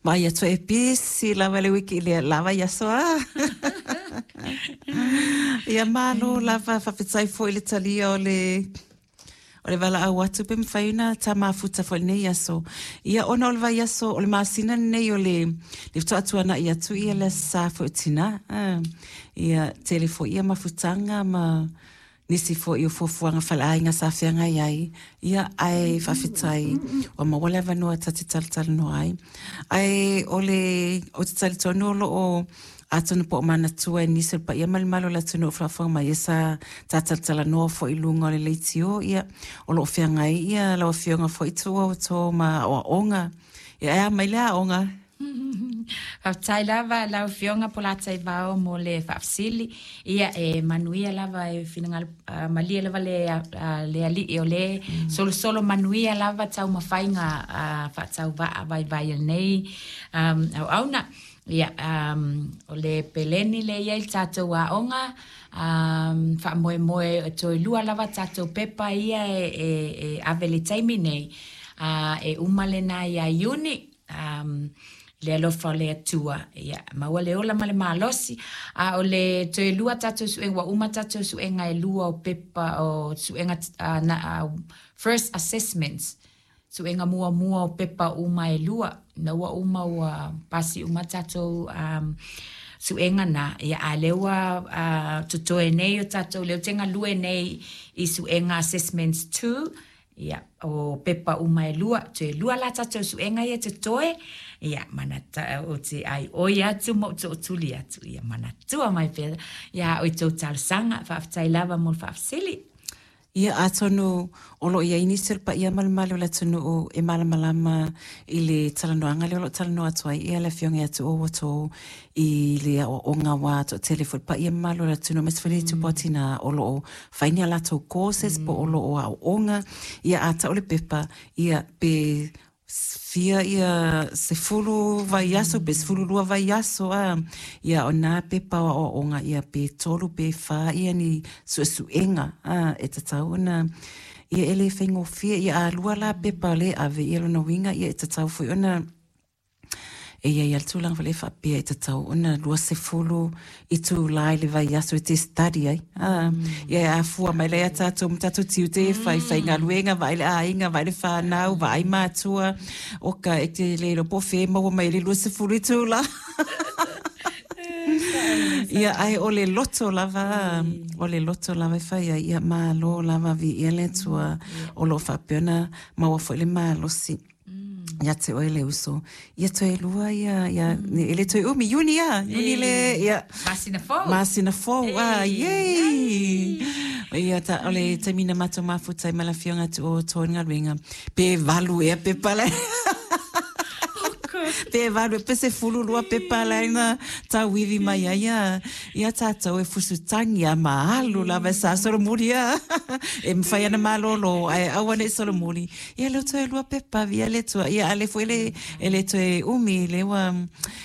Vaai atu e pisi lava le wiki i le la vaiaso a. Ia malo lava faafetai foi le talia o le o le valaau atu pe mafai ona ta mafuta foi i lenei aso. Ia ona o le vaiaso o le masina lenei o le le faatoa tuanai atu ia le Aso Sa foi o Tina. Ia tele foi ia mafutaga ma nisi foi o fuafuaga faleaiga sa feagai ai, ia, ae faafetai ua maua le avanoa ta te talatalanoa ai. Ae o le, ou te talitonu o lo o, atonu po o manatua e nisi o le paia ma le mamalu o le atunuu o faafofoga mai, ia sa ta talatalanoa foi i luga o le leitio, ia, o lo o feagai ia lau Afioga foi Tuua outou ma aoaoga. Ia, e a mai le aoga? Faafetai lava lau Afioga Polataivao mo le faafesili. Ia e manuia lava e finagalo uh, malie lava le, uh, le alii o le mm. solosolo manuia lava taumafaiga uh, faatauvaa vaivai a lenei um, auauna. Ia, um, o le peleni le i ai le tatou aoga, um, faamoemoe e toe lua lava tatou pepa ia e, e, e ave le taimi nei, uh, e uma lena ia Iuni, um, le alofa o le Atua, ia, maua le ola ma le malosi, a o le toe lua tatou suega, ua uma tatou suega e lua o pepa, o suega, uh, na, uh, first assessments, suega muamua o pepa uma e lua, na ua uma ua pasi uma tatou um, suega na, ia, a lea ua uh, totoe nei o tatou, lea ou te galue nei i suega assessments 2, Ia, o pepa uma e lua, toe lua la tatou suega ia totoe, ia, manata, ou te ʻaiʻoi atu ma ou tootuli atu, ia manatua mai pea iā ʻoe tou talosaga, faafetai lava mo le faafesili. Ia, atonu o lo o i ai nisi o le paia ma le mamalu o le atunuu e malamalama i le talanoaga lea o lo o talanoa atu ai ia le Afioga ia Tuua Uoto i le aoaoga aua toatele foi le paia mamalu o le atunuu aemaise foi le itupa o tinā o lo o fai ni a latou courses po o lo o aooga, ia a tau le pepa, ia pe fia ia 10 vaiaso pe 12 vaiaso a, ia o nā pepa o aoaoga ia pe tolu pe whā ia ni suesuega a, e tatau ona ia e le faigofie, ia a lua la pepa o lea e ave, ia lona uiga ia e tatau foi ona E i ai lava le tulaga foi lea e faapea e tatau ona 20 itulā i le vaiaso e te study ai. Mm. Ia e afua mai lea tātou ma tātou tiute e whai, whaigaluega, vaai le aiga, vaai le whānau, vaai mātua. Oka e te le iloa po o fea e maua mai ai le 20 itulā. Ia, ae o le loto lava, o le loto lava e fai ai, ia malo lava viia le Atua o lo o faapea ona maua foi le malosi. Ia te oe le uso. Ia toe lua ia, ia, e le toe umi, Iuni a, Iuni le, ia. Masina fou. Masina fou, a, yay! Ia, ta, o le taimi na matou mafuta ai ma le afioga atu o Toi Galuega, pe valu ea pepa lai. Pe valu, pe 12 pepa lai na tauivi mai ai ia, ia tātou e fusu tangi a ma alu lava e sa solomuli a. E mawhai ana malolo, ae aua nei solomuli. Ia lea toe lua pepa via le Atua. Ia a lea foi le, e le toe umi, lea ua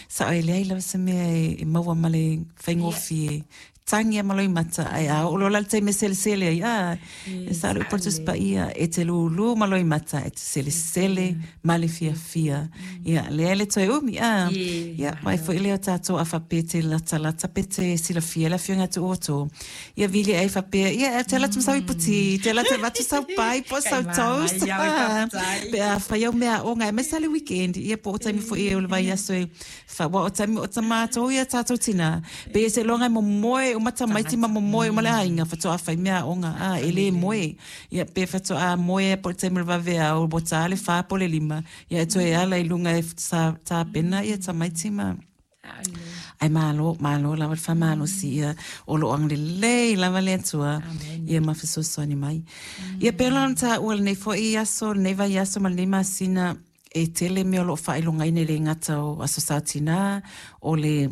sao e leai lava se mea e, e maua ma le faigofie. Tangi a ma loimata, ae a oo loa la le taimi e selesele ai, a, e sao le upu a le Tusi Paia, e te lūlū ma loimata, e te selesele ma le fiafia. Ia, lea e le toe umi, a, ia, mai foi lea o tātou a faapea e te latalata pe te silafia le Afioga ia Tuuoto. Ia vili ai faapea, ia e te ala atu ma sau iputi, te ala atu e avatu sau pai po o sau toast. Pe a fai au mea aoga, aemaise lava le weekend, ia po o taimi foi o le vaiaso e fa, aua o taimi o matou ia tātou tinā, pei e seiloga e momoe uma tamaiti ma momoe uma le aiga faatoa fai mea aoga, a, e le moe. Ia pe faatoa moe po o le taimi o le vaveao, ua ta le fa po o le lima, ia e toe ala i luga e tapena ia tamaiti ma Ae malo, malo lava le faamalosi ia o lo o agalelei lava le Atua ia ma fesoasoani mai. Ia pei ona taua lenei foi aso, lenei vaiaso ma lenei masina e tele mea o lo o faailogaina e le gata o Aso Sa Tinā, o le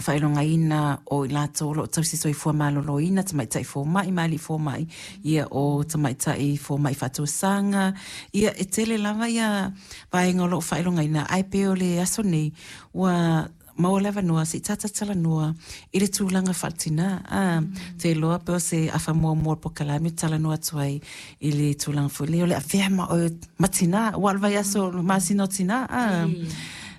faailogaina o i latou o lo o tausi soifua maloloina, tamaitai fomai ma alii fomai, ia o tamaitai fomai faatosaga, ia e tele lava ia vaega o lo o faailogaina, ae pei o le aso nei, ua maua le avanoa se i tātou talanoa i le tulaga faaletinā. Ā, te iloa pe o se afa muamua o le polokalame e talanoa atu ai i le tulaga foi lea o le avea ma oe ma tinā, aua o le vaiaso o le masina o tinā, ā.